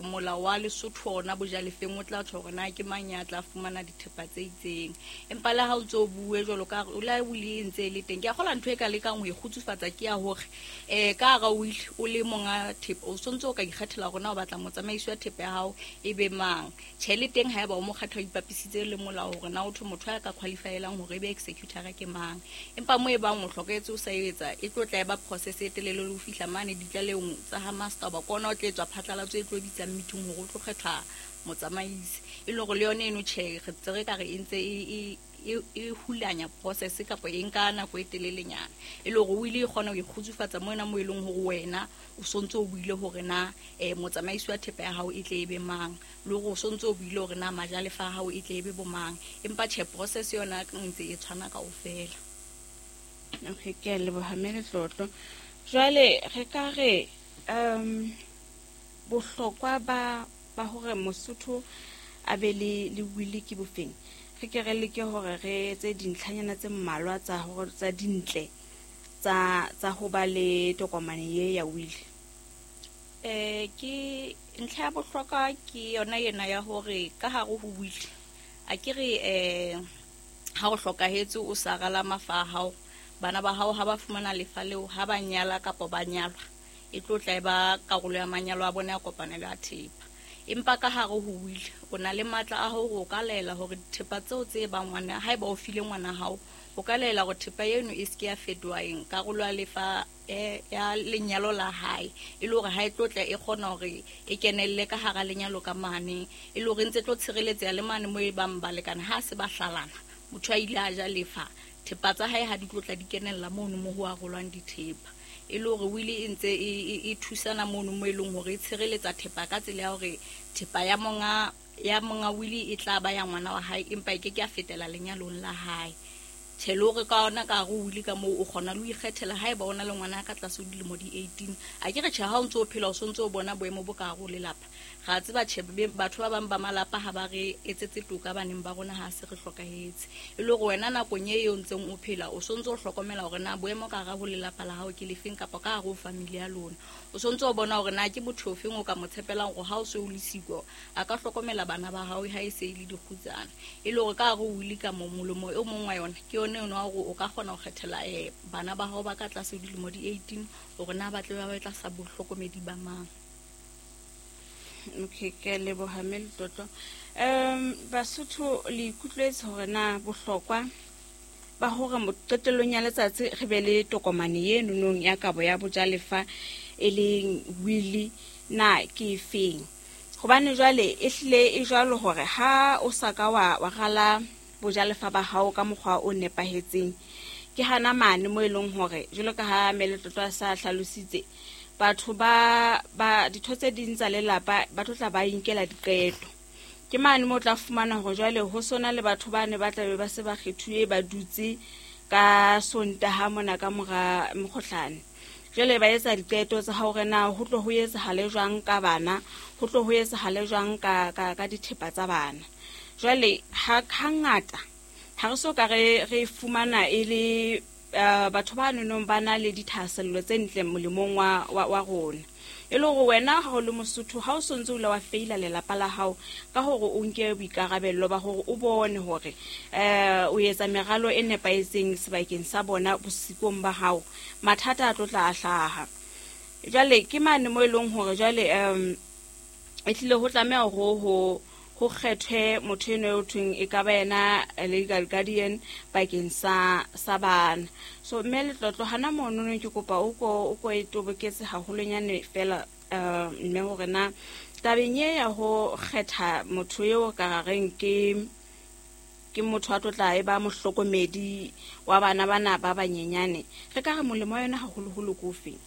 Molao wa Lesotho ona bojalefeng o tla tjho hore na ke mang ya tla fumana dithepa tse itseng. Empa le ha o ntso o bue jwalo ka o la wili e ntse e le teng, ke a kgolwa ntho e ka lekang ho e kgutsufatsa ke ya hore ka hara wili o le monga thepa o sontse o ka ikgethela hore na o batla motsamaisi wa thepa ya hao e be mang. Tjhe, le teng haeba o mo kgetha o ipapisitse le molao hore na o thwe motho a ka qualifyelang hore e be executor ke mang. Empa mo e bang o hlokahetse o sa etsa, e tlo tla e ba process e telele le ho fihla mane ditlalehong tsa ha master, hoba ke ona o tla etswa phatlalatso e tlo bitsang meeting hore o tlo kgethwa motsamaisi. E le hore le yona eno tjhe, re ntse re ka re e ntse e hulanya process kapa e nka nako e telelenyana. E le hore o ile e kgona ho ikgutsufatsa mona mo e leng hore wena o sontse o buile hore na motsamaisi wa thepa ya hao e tle e be mang, le hore o sontse o buile hore na majalefa a hao e tle e be bo mang. Empa tjhe, process yona ntse e tshwana kaofela. Okay, ke a leboha mme Letlotlo. Jwale re ka re bohlokwa ba hore Mosotho a be le wili ke bofeng? Re ke re leke hore re etse dintlhanyana tse mmalwa tsa hore tsa dintle tsa ho ba le tokomane ye ya wili. Ke ntlha ya bohlokwa ke yona ena ya hore ka hare ho wili a ke re ha o hlokahetse o sa rala mafa a hao, bana ba hao ha ba fumana lefa leo, ha ba nyala kapa ba nyalwa, e tlo tla e ba karolo ya manyalo a bona ya kopanelo ya thepa. Empa ka hare ho wili o na le matla a hore o ka laela hore dithepa tseo tse bang ngwana, haeba o file ngwana hao, o ka laela hore thepa eno e se ke ya fetoha eng, karolo ya lefa ya lenyalo la hae, e le hore ha e tlo tla e kgona hore e kenelle ka hara lenyalo ka mane, e le hore ntse tlo tshireletseha le mane mo e bang balekane ha se ba hlalana, motho a ile a ja lefa, thepa tsa hae ha di tlo tla di kenella mono mo ho arolwang dithepa. E le hore wili e ntse e thusana mono mo e leng hore e tshireletsa thepa ka tsela ya hore thepa ya monga wili e tla ba ya ngwana wa hae, empa e ke ke ya fetela lenyalong la hae. Tjhe, le hore ka ona ka hare ho wili ka moo o kgona le ho ikgethela haeba o na le ngwana ka tlase ho dilemo di 18. A ke re tjhe, ha o ntso o phela o sontso o bona boemo bo ka hare ho lelapa. Re a tseba tjhe, batho ba bang ba malapa ha ba re etsetse toka baneng ba rona ha se re hlokahetse. E le hore wena nakong e eo ntseng o phela o sontso o hlokomela hore na boemo ka hare ho lelapa la hao ke lefeng kapa ka hare ho family ya lona. O sontso o bona hore na ke motho ofeng o ka mo tshepelang hore ha o se o le siko a ka hlokomela bana ba hao ha e se e le dikgutsana. E le hore ka hare ho wili ka moo molomo e mong wa yona ke yone eno wa hore o ka kgona ho kgethela bana ba hao ba ka tlase ho dilemo di 18 hore na ba tle ba be tlasa bohlokomedi ba mang. Okay, ke a leboha mme Letlotlo. Basotho le ikutlwetse hore na bohlokwa ba hore qetellong ya letsatsi re be le tokomane ye nonong ya kabo ya bojalefa e leng wili na ke efeng. Hobane jwale e hlile e jwalo hore ha o sa ka wa rala bojalefa ba hao ka mokgwa o nepahetseng, ke hana mane mo e leng hore jwalo ka ha mme Letlotlo a sa hlalositse, batho ba ditho tse ding tsa lelapa ba tlo tla ba inkela diqeto. Ke mane mo tla fumana hore jwale ho sona le batho ba ne ba tla be ba se ba kgethuwe ba dutse ka Sontaha mona ka mora mokgohlane. Jwale ba etsa diqeto tsa hore na ho tlo ho etsahale jwang ka bana, ho tlo ho etsahale jwang ka dithepa tsa bana. Jwale hangata ha re so ka re fumana e le batho ba nonong ba na le dithahasello tse ntle molemong wa rona. E le hore wena ha o le Mosotho, ha o sontse o ile wa feila lelapa la hao ka hore o nke boikarabello ba hore o bone hore o etsa meralo e nepahetseng sebakeng sa bona bosikong ba hao, mathata a tlo tla a hlaha. Jwale ke mane mo e leng hore jwale e tlile ho tlameha hore ho kgethwe motho eno eo thweng e ka ba yena legal guardian bakeng sa bana. So mme Letlotlo hana monono ke kopa o ko e toboketse haholonyane fela mme hore na tabeng e ya ho kgetha motho eo ka reng ke motho a tlo tla e ba mohlokomedi wa bana bana ba banyenyane, re ka re molemo wa yona haholoholo ke ofeng?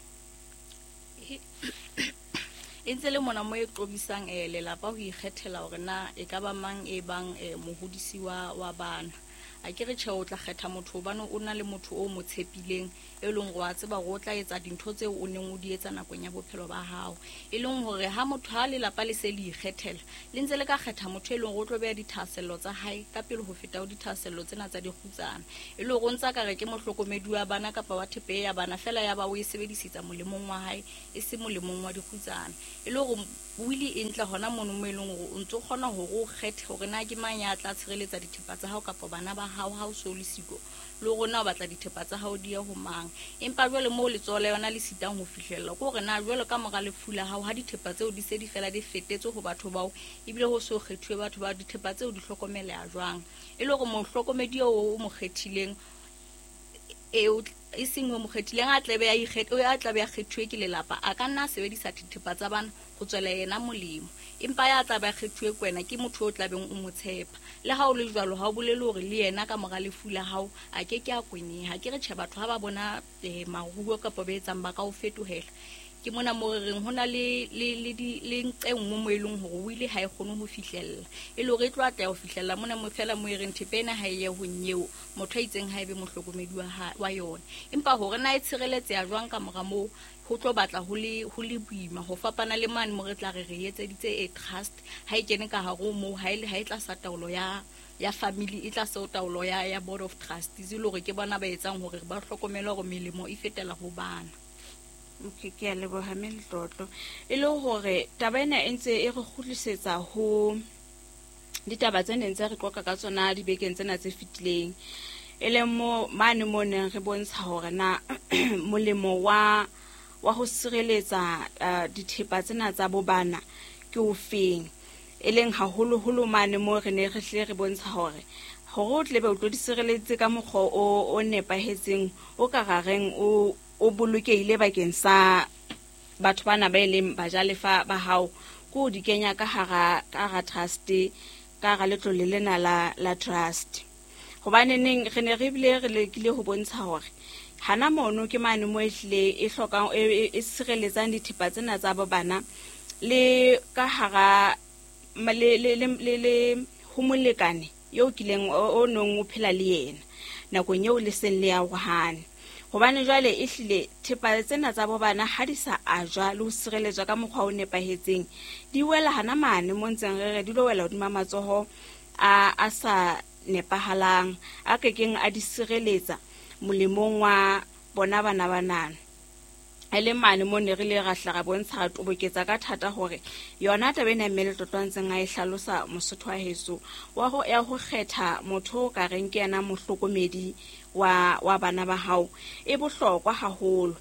E ntse le mona mo e qobisang lelapa ho ikgethela hore na e ka ba mang e bang mohodisi wa bana. A ke re tjhe, o tla kgetha motho hobane o na le motho o mo tshepileng, e leng hore wa tseba hore o tla etsa dintho tseo o neng o di etsa nakong ya bophelo ba hao. E leng hore ha motho, ha lelapa le se le ikgethela, le ntse le ka kgetha motho e leng hore o tlo beha dithahasello tsa hae ka pele ho feta ho dithahasello tsena tsa dikgutsana. E le hore o ntsa ka re ke mohlokomedi wa bana kapa wa thepe ya bana, fela ya ba o e sebedisetsa molemong wa hae, e se molemong wa dikgutsana. E le hore Wili e ntle hona mono mo e leng hore o ntso kgona hore o kgethe hore na ke mang ya tla tshireletsa dithepa tsa hao kapa bana ba hao ha o so le siko, le hore na o batla dithepa tsa hao di ye ho mang. Empa jwale moo letsoho la yona le sitang ho fihlella ke hore na jwale ka mora lefu la hao ha dithepa tseo di se di fela di fetetse ho batho bao, ebile ho so kgethuwe batho bao, dithepa tseo di hlokomeleha jwang? E le hore mohlokomedi eo o mo kgethileng, e seng o mo kgethileng, a tlabe a a tlabe a kgethuwe ke lelapa, a ka nna a sebedisa dithepa tsa bana ho tswela yena molemo. Empa ya tlabe a kgethuwe ke wena, ke motho o tlabeng o mo tshepa. Le ha o le jwalo, ha o bolele hore le yena ka mora lefu la hao a ke ke a kweneha. Ke re tjhe, batho ha ba bona maruo kapa ba etsang ba ka o fetohela. Ke mona mo re reng ho na le nqe nngwe mo e leng hore wili ha e kgone ho fihlella, e le hore e tlo atleha ho fihlella mona mo fela mo e reng thepa ena ha e ye ho nyeo, motho a itseng ha e be mohlokomedi wa yona. Empa hore na e tshireletseha jwang ka mora moo, ho tlo batla ho le boima ho fapana le mane mo re tla re re etseditse e trust. Ha e kene ka hare ho moo, ha e le ha e tlasa taolo ya family, e tlasa taolo ya board of trustees, e le hore ke bona ba etsang hore ba hlokomele hore melemo e fetela ho bana. Okay, ke a leboha mme Letlotlo. E le hore taba ena e ntse e re kgutlisetsa ho ditaba tse neng tse re qoqa ka tsona dibekeng tsena tse fetileng, e leng mo mane mo neng re bontsha hore na molemo wa ho sireletsa dithepa tsena tsa bo bana ke ofeng, e leng haholoholo mane mo re ne re hlile re bontsha hore o tle be o tlo di sireletse ka mokgwa o nepahetseng, o ka rareng o bolokehile bakeng sa batho bana ba e leng bajalefa ba hao, ke o di kenya ka hara trust, ka hara letlole lena la trust. Hobane neng re ne re bile re lekile ho bontsha hore hana mono ke mane mo e hlile e hlokang, e sireletsang dithepa tsena tsa bo bana le ka hara le ho molekane eo kileng o nong o phela le yena nakong eo le seng le arohane. Hobane jwale e hlile thepa tsena tsa bo bana ha di sa ajwa le ho sireletswa ka mokgwa o nepahetseng, di wela hana mane mo ntseng re re di lo wela hodima matsoho a sa nepahalang, a kekeng a di sireletsa molemong wa bona bana banana. E le mane mo ne re le ra hla ra bontsha, ra toboketsa ka thata hore yona taba ena mme Letlotlo a ntseng a e hlalosa Mosotho wa heso, wa ho ya ho kgetha motho o ka reng ke yena mohlokomedi wa bana ba hao, e bohlokwa haholo.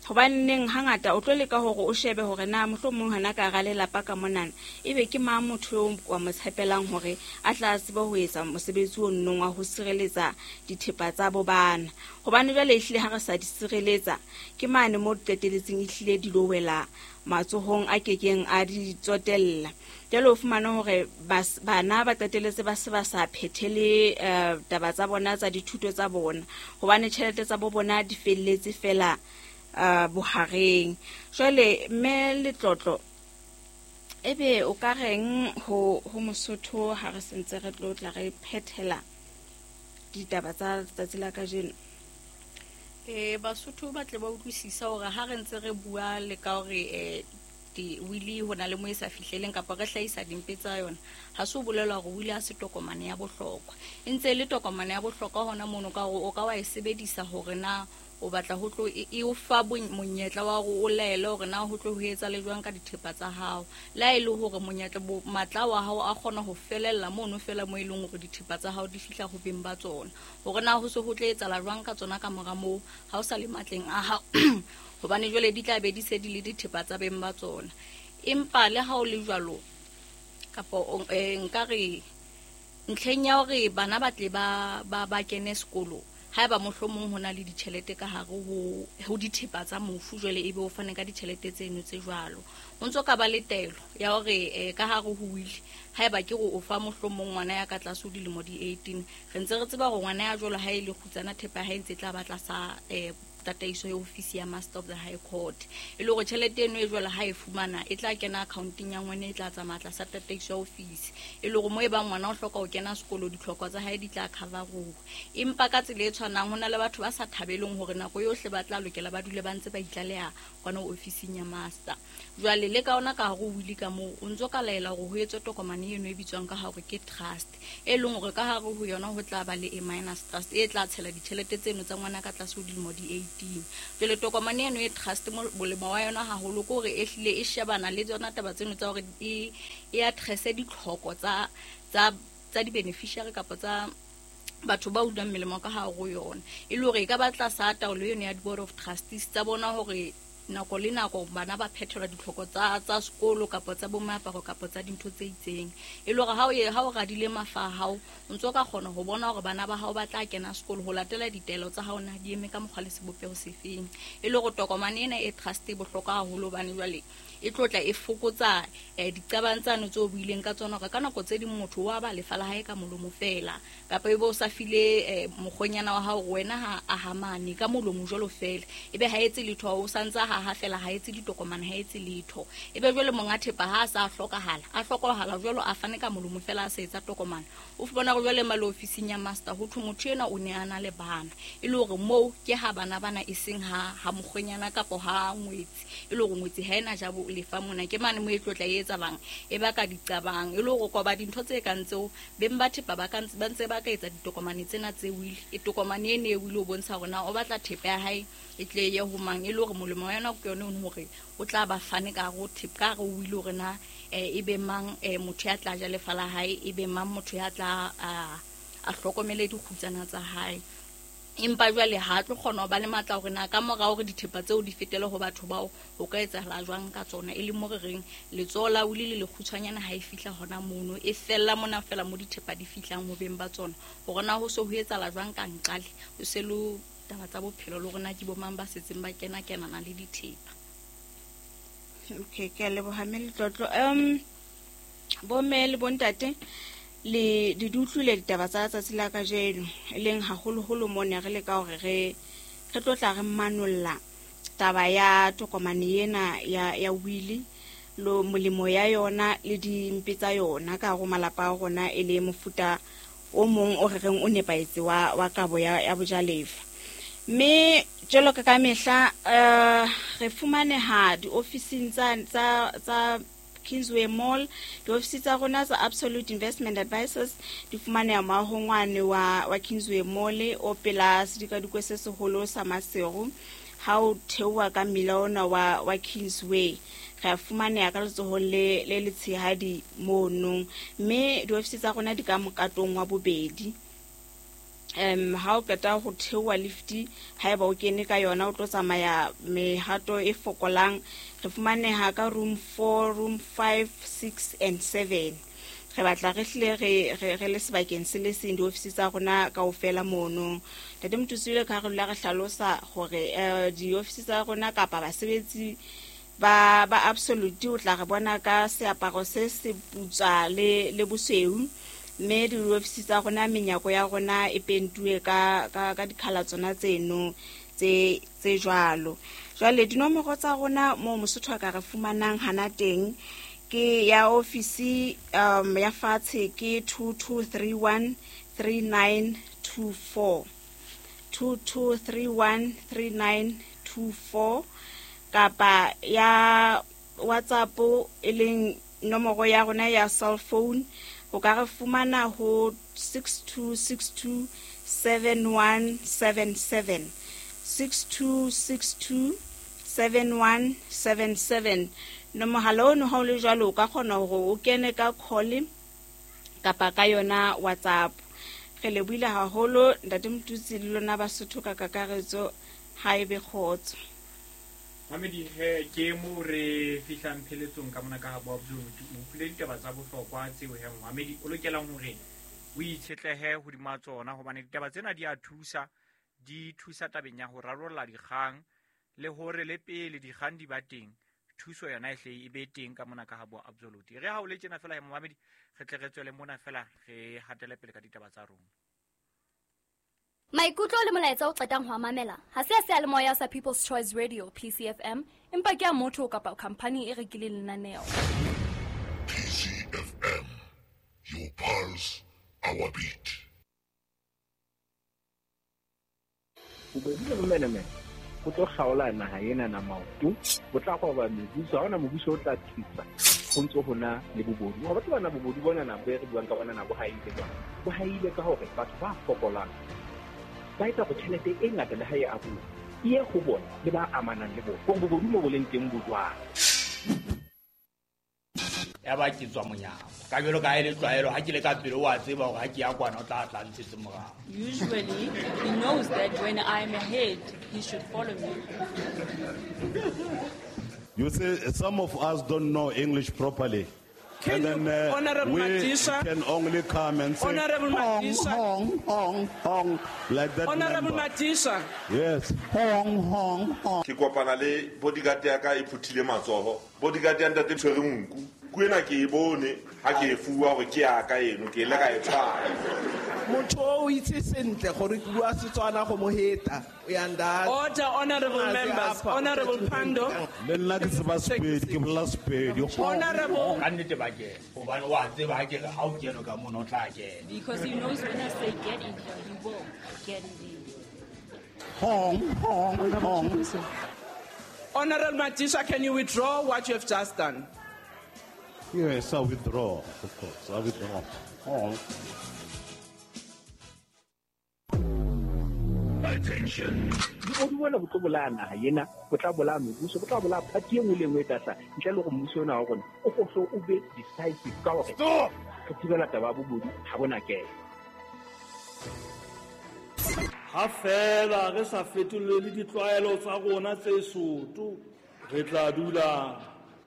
Hobane neng hangata o tlo leka hore o shebe hore na mohlomong hana ka hara lelapa ka monana ebe ke mang motho eo wa mo tshepelang hore a tla tsebe ho etsa mosebetsi o nnong wa ho sireletsa dithepa tsa bo bana. Hobane jwale ehlile ha re sa di sireletsa, ke mane mo di qeteletseng ehlile di lo wela matsohong a kekeng a di tsotella. Jwale o fumane hore bana ba qeteletse ba se ba sa phethele taba tsa bona tsa dithuto tsa bona, hobane tjhelete tsa bo bona di felletse fela bohareng. Jwale mme Letlotlo, ebe o ka reng ho Mosotho ha re sentse re tlo tla re phethela ditaba tsa letsatsi la kajeno? Basotho ba tle ba utlwisisa hore ha re ntse re bua le ka hore wili ho na le mo e sa fihleleng kapa re hlahisa dimpe tsa yona, ha se ho bolelwa hore wili ha se tokomane ya bohlokwa. E ntse e le tokomane ya bohlokwa hona mono ka hore o ka wa e sebedisa hore na o batla ho tlo e o fa monyetla wa hore o laele hore na ho tlo ho etsa le jwang ka dithepa tsa hao. Le ha e le hore monyetla matla wa hao a kgona ho felella mono fela mo e leng hore dithepa tsa hao di fihla ho beng ba tsona, hore na ho se ho tlo etsahala jwang ka tsona ka mora moo ha o sa le matleng a hao, hobane jwale di tla be di se di le dithepa tsa beng ba tsona. Empa le ha o le jwalo, kapa nka re ntlheng ya hore bana ba tle ba kene sekolo, haeba mohlomong ho na le ditjhelete ka hare ho dithepa tsa mofu, jwale ebe o fane ka ditjhelete tseno tse jwalo, o ntso ka ba le taelo ya hore ka hare ho wili, haeba ke re o fa mohlomong ngwana ya ka tlase ho dilemo di 18, re ntse re tseba hore ngwana ya jwalo ha e le kgutsana thepa ha e ntse e tla ba tlasa tataiso ya ofisi ya Master of the High Court, e le hore tjhelete eno e jwalo ha e fumana e tla kena accounteng ya ngwana, e tla tsamaya tlasa tataiso ya ofisi, e le hore mo e bang ngwana o hloka ho kena sekolo ditlhoko tsa hae di tla cover-uwa. Empa ka tsela e tshwanang ho na le batho ba sa thabeleng hore nako yohle ba tla lokela ba dule ba ntse ba itlaleha kwana ofising ya master. Jwale le ka ona ka hare ho wili ka moo, o ntso ka laela hore ho etswe tokomane eno e bitswang ka hore ke trust, e leng hore ka hare ho yona ho tla ba le a minus trust e tla tshela ditjhelete tseno tsa ngwana ka tlase ho dilemo di 18. Jwale tokomane eno e trust molemo wa yona haholo ke hore e hlile e shebana le tsona taba tseno tsa hore e addresse ditlhoko tsa di-beneficiary kapa tsa batho ba unang melemo ka hare ho yona. E le hore e ka ba tlasa taolo eno ya di-board of trustees tsa bona hore nako le nako bana ba phethelwa ditlhoko tsa sekolo kapa tsa bomeaparo kapa tsa dintho tse itseng. E le hore ha o radile mafa a hao, o ntso ka kgona ho bona hore bana ba hao ba tla kena sekolo ho latela ditaelo tsa hao na di eme ka mokgwa le sebopeho sefeng. E le hore tokomane ena e trust e bohlokwa haholo hobane jwale e tlotla e fokotsa diqabang tsano tseo buileng ka tsona hore ka nako tse ding motho wa ba lefa la hae ka molomo fela kapa ebe o sa file mokgonyana wa hao wena ha a hamane ka molomo jwalo fela, ebe ha etse letho, o santsa ha fela ha etse ditokomane, ha etse letho, ebe jwale monga thepa ha a sa hlokahala, a hlokahala jwalo a fane ka molomo fela a sa etsa tokomane. O fumana hore jwale male ofising ya master ho thwe motho ena o ne a na le bana, e le hore moo ke ha bana bana e seng ha mokgonyana kapa ha ngwetsi, e le hore ngwetsi ha ena ja bo lefa mona ke mane mo e tlotla e etsalang e baka diqabang. E le hore koba dintho tse kang tseo beng ba thepa ba ka ba ntse ba ka etsa ditokomane tsena tse wili, e tokomane ene e wili o bontsha hore na o batla thepa ya hae e tle ye ho mang, e le hore molemo wa yona ke yone hore o tla ba fane ka ho thepa ka re o ile hore na e be mang motho ya tla ja lefa la hae, e be mang motho ya tla a hlokomele dikgutsana tsa hae. Empa jwale ha tlo kgona ho ba le matla hore na ka mora hore dithepa tseo di fetele ho batho bao ho ka etsahala jwang ka tsona. E le mo re reng letsoho la wili le lekgutshwanyana ha e fihla hona mono, e fella mona fela mo dithepa di fihlang ho beng ba tsona, hore na ho se ho etsahala jwang ka nqale ho se lo taba tsa bophelo le hore na ke bo mang ba setseng ba kena kenana le dithepa. Okay, ke a leboha mme Letlotlo. Bomme le bontate le di utlwile ditaba tsa tsatsi la kajeno, e leng haholoholo mo ne re leka hore re tlo tla re manolla taba ya tokomane ena ya wili lo molemo ya yona le dimpe tsa yona ka hare ho malapa a rona, e le mofuta o mong o re reng o nepahetse wa kabo ya bojalefa. Mme jwalo ka mehla re fumaneha diofising tsa Kingsway Mall. Diofisi tsa rona tsa Absolute Investment Advisors di fumaneha moahong wane wa Kingsway Mall o pela sedikadikwe se seholo sa Maseru. Ha o theoha ka mmila ona wa Kingsway, re a fumaneha ka letsohong le letshehadi mono, mme diofisi tsa rona di ka mokatong wa bobedi. Ha o qeta ho theoha lifti, haeba o kene ka yona o tlo tsamaya mehato e fokolang. Re fumaneha ka room 4, room 5, 6 and 7. Re batla re hlile re le sebakeng se le seng diofisi tsa rona kaofela mono. Ntate Mothusi ka re dula re hlalosa hore diofisi tsa rona kapa basebetsi ba Absolute o tla re bona ka seaparo se se putswa le bosweu, mme diofisi tsa rona menyako ya rona e pentuwe ka dikhala tsona tseno tse jwalo. Jwale dinomoro tsa rona mo Mosotho a ka re fumanang hana teng ke ya ofisi ya fatshe ke 2231 3924, 2231 3924, kapa ya WhatsApp e leng nomoro ya rona ya cell phone o ka re fumana ho 6262 7177, 6262 7177. No mohala ono ha o le jwalo o ka kgona hore o kene ka call kapa ka yona WhatsApp. Re lebohile haholo Ntate Motutsi le lona Basotho ka kakaretso, ha ebe kgotso. Mamedi he ke mo re fihlang pheletsong ka mona ka ha Absolute. O utlwile ditaba tsa bohlokwa tseo he Mamedi o lokelang hore o itshetlehe hodima tsona, hobane ditaba tsena di a thusa, di thusa tabeng ya ho rarolla dikgang le hore le pele dikgang di ba teng thuso yona e hle e be teng ka mona ka ha Absolute. Re ha o le tjena fela he Mamedi, re tle re tswele mona fela re hatele pele ka ditaba tsa rona. Maikutlo le molaetsa o qetang ho mamela ha se a seyalemoya sa People's Choice Radio PCFM, empa ke a motho kapa company e rekileng lenaneo. PCFM, your pulse, our beat. Bobodu le bomenemene bo tlo kgaola naha ena na maoto, bo tla qoba mebuso, ha hona mobuso o tla thusa ho ntso hona le bobodu. Ha batho bana bobodu bona na bo re buang ka bona na bo haile jwang, bo haile ka hore batho ba fokolang ba etsa hore tjhelete e ngata le ha e abuwa e ye ho bona le ba amanang le bona gore bobodu mo bo leng teng bo jwang. Ya ba ke tswa monyako ka jwalo ka e le tlwaelo ha ke le ka pele o a tseba hore ha ke ya kwana o tla tla ntshetse morao. Usually he knows that when I'm ahead he should follow me. You see, some of us don't know English properly. Can and then Honorable we Madisha, can only come and say Honorable hong, Madisha. Hong, hong, hong, like that. Honorable number. Madisha. Yes. Hong, hong, hong. Ke kopana le bodyguard ya ka e phuthile matsoho. Bodyguard ya ntate tshwere nku. Ku ena ke e bone ha ke e fuwa hore ke ya ka eno ke ile ka e tshwara. Motho o itse sentle gore ke bua Setswana go mo heta. Order, honorable members. Honorable Pando. Le nna ke tseba Sepedi, ke bolela Sepedi. Honorable. Ka nnete ba kena hobane wa tseba ha ke re ha o kene ka mona o tla kena. Because he knows when I say get in here, he will get in there. Hong, hong, hong. Honorable Madisha, can you withdraw what you have just done? Yes, I withdraw, of course. I withdraw. Hong. Attention. Bobodu bona bo tlo bolaya naha ena, bo tla bolaya mebuso, bo tla bolaya party e nngwe le nngwe e tla hlaha. Ntle le hore mmuso ona wa rona o hlo o be decisive ka hore re thibela taba ya bobodu ha bona kena. Ha fela re sa fetolele ditlwaelo tsa rona tse soto, re tla dula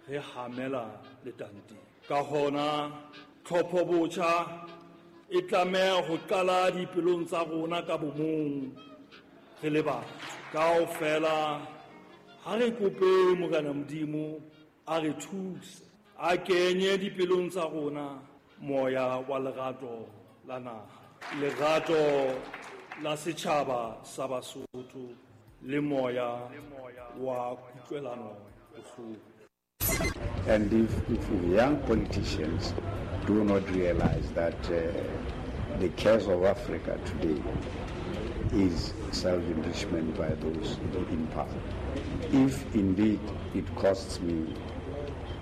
re hamela letanteng. Ka hona tlhopho botjha e tlameha ho qala dipelong tsa rona ka bomong re le batho. Kaofela ha re kope Morena Modimo a re thuse, a kenye dipelong tsa rona moya wa lerato la naha, lerato la setjhaba sa Basotho le moya wa kutlwelano bohloko. And if young politicians do not realize that the curse of Africa today is self-enrichment by those in power. If indeed it costs me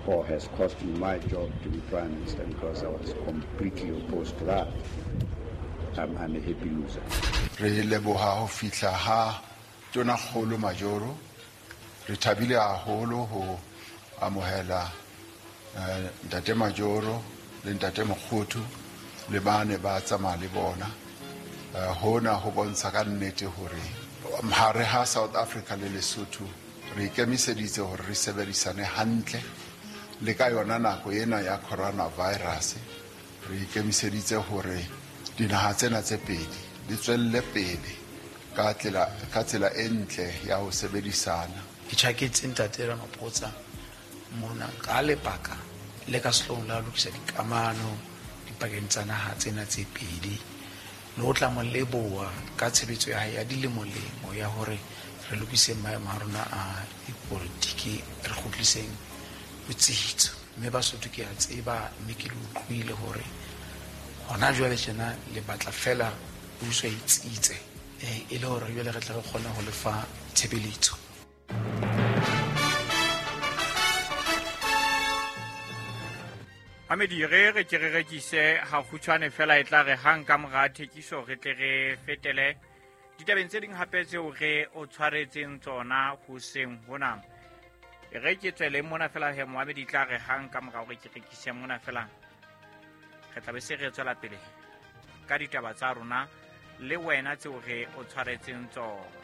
or has cost me my job to be Prime Minister because I was completely opposed to that, I'm a happy loser. Re leboha ho fihla ha Tonakgolo Majoro, re thabile haholo ho amohela ntate Majoro le ntate Mokgothu le bane ba tsamaya le bona. Hona ho bontsha ka nnete hore hare ha South Africa le Lesotho re ikemiseditse hore re sebedisane hantle le ka yona nako ena ya coronavirus. Re ikemiseditse hore dinaha tsena tse pedi di tswelle pele ka tsela e ntle ya ho sebedisana. Ke tjhaketse ntate Ramaphosa mona ka lebaka le ka sehloohong la ho lokisa dikamano dipakeng tsa naha tsena tse pedi, le ho tla mo leboha ka tshebetso ya hae ya dilemolemo ya hore re lokise maemo a rona a dipolitiki, re kgutliseng botsitso. Mme Basotho ke a tseba, mme ke le utlwile hore hona jwale tjena le batla fela puso e tsitse, e le hore jwale re tla re kgona ho lefa tshebeletso. Amedi re ke re rekise ha kgutshwane fela e tla re hang ka mora thekiso re tle re fetele ditabeng tse ding hape tseo re o tshwaretseng tsona hoseng hona. Re ke tswele mona fela he Mohamedi tla re hang ka mora hore ke rekise mona fela re tla be se re tswela pele ka ditaba tsa rona le wena tseo re o tshwaretseng tsona.